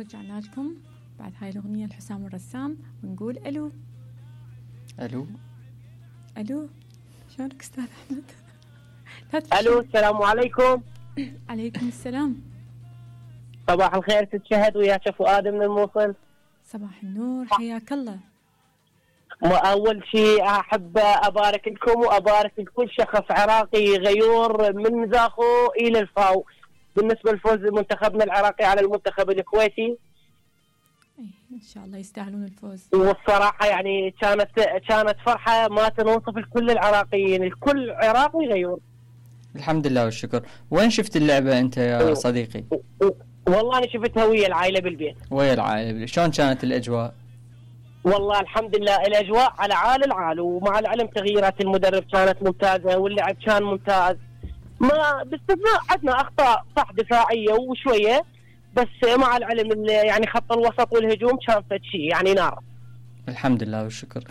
ورجعنا لكم بعد هاي الأغنية لحسام الرسام ونقول ألو. الو ألو، شلونك أستاذ أحمد؟ الو، السلام عليكم. عليكم السلام. صباح الخير ست شهد، وياك فؤاد من الموصل. صباح النور، حياك الله. أول شيء أحب أبارك لكم وأبارك لكل شخص عراقي غيور من زاخو إلى الفاو بالنسبة لفوز منتخبنا العراقي على المنتخب الكويتي. إن شاء الله يستاهلون الفوز. والصراحة يعني كانت فرحة ما تنوصف لكل العراقيين، الكل عراقي غيور. الحمد لله والشكر. وين شفت اللعبة أنت يا صديقي؟ والله أنا شفتها ويا العائلة بالبيت. ويا العائلة، شلون كانت الأجواء؟ والله الحمد لله الأجواء على عال العال، ومع العلم تغييرات المدرب كانت ممتازة واللعب كان ممتاز، ما باستثناء عندنا أخطاء صح دفاعية وشوية، بس مع العلم يعني خط الوسط والهجوم كان فد شيء يعني نار. الحمد لله والشكر.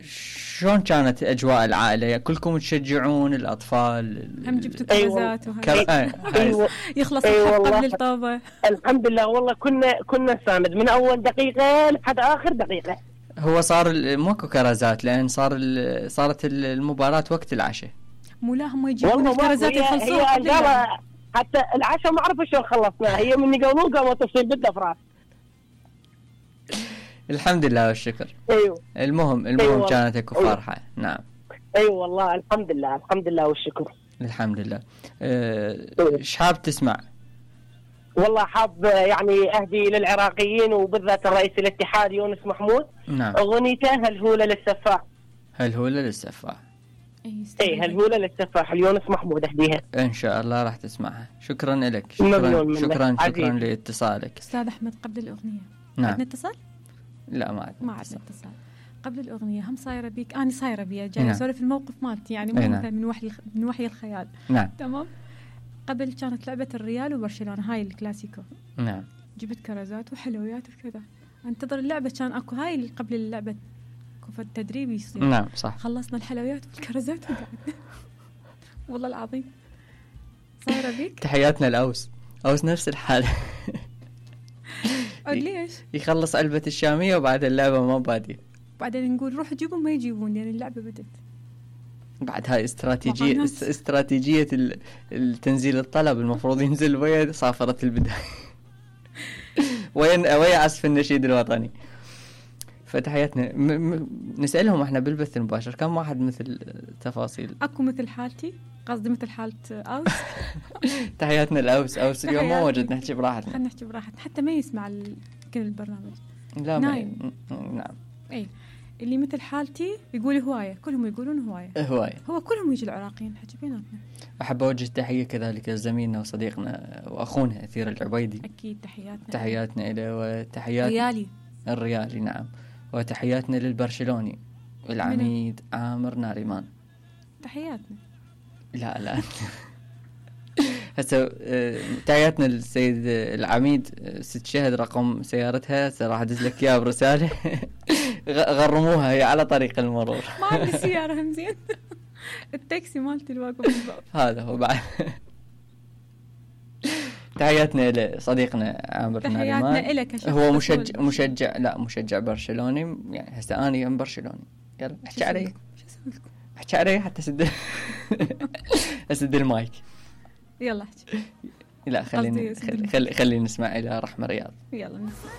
شلون كانت أجواء العائلة؟ يعني كلكم تشجعون الأطفال؟ هم جبتوا كرزات يخلص الحق قبل الطابة. الحمد لله والله كنا نساند من أول دقيقة لحد آخر دقيقة. هو صار ماكو كرزات لأن صارت المباراة وقت العشاء. مو لا هم يجيبون الكرزات يخلصوها قبل. حتى العشاء ما أعرف شلون خلصنا، هي من يقولون قاموا تفصيل بالدفرات. الحمد لله والشكر. ايوه المهم أيوة. كانت اكو فرحة. نعم ايوه والله الحمد لله والشكر. الحمد لله. ايش حاب تسمع؟ والله حاب يعني اهدي للعراقيين وبالذات الرئيس الاتحاد يونس محمود. نعم. اغنيته هالهولة للسفاح. هالهولة للسفاح. اي هالهولة للسفاح ليونس محمود اهديها. ان شاء الله راح تسمعها. شكرا لك. شكرا لاتصالك استاذ احمد. قبل الاغنية نعم. عندنا اتصال؟ لا ما عندنا اتصال. قبل الأغنية هم صايرة بيك، أنا صايرة بيا جاي نعم. أسولف الموقف مالتي يعني مو مثلا من وحي الخيال. نعم. تمام. قبل كانت لعبة الريال وبرشلونة هاي الكلاسيكو. نعم. جبت كرزات وحلويات وكذا، انتظر اللعبة كان أكو هاي اللي قبل اللعبة كوفة التدريب يصير. نعم صح. خلصنا الحلويات والكرزات وقعدنا والله العظيم. صايرة بيك. تحياتنا الأوس نفس الحالة. ليش؟ يخلص علبة الشامية وبعد اللعبة ما بادية، بعدين نقول روح جيبون ما يجيبون لأن اللعبة بدت. بعد هاي استراتيجية التنزيل الطلب، المفروض ينزل ويا صافرة البداية ويا عزف النشيد الوطني. فتحياتنا نسألهم احنا بالبث المباشر كم واحد مثل تفاصيل. اكو مثل حالتي، قصدي مثل حالة أوس. تحياتنا الأوس اليوم ما وجد نحكي براحتنا. خلينا نحكي براحتنا حتى ما يسمع كل البرنامج. لا نايم. نعم. اي اللي مثل حالتي يقول هواية، كلهم يقولون هواية. هو كلهم يجي العراقيين حكي بيناتنا. أحب أوجه تحية كذلك لزميلنا وصديقنا وأخونا أثير العبيدي. أكيد تحياتنا إليه وتحيات الريالي. نعم. وتحياتنا للبرشلوني العميد عامر ناريمان. تحياتنا. لا هسه تحياتنا للسيد العميد ست شهد، رقم سيارتها راح ادز لك اياها برساله. غرموها هي على طريق المرور. ما عندي سياره هم زين. التاكسي مالتي الواقف بالباب. هذا هو بعد. تحياتنا لصديقنا عامر ناريمان. تحياتنا لك. هو مشجع برشلوني يعني. هسه انا ام برشلوني. يلا احكي علي. احكي علي حتى اسد المايك. يلا احكي. لا خلينا نسمع إلى رحمة رياض. يلا نسمع.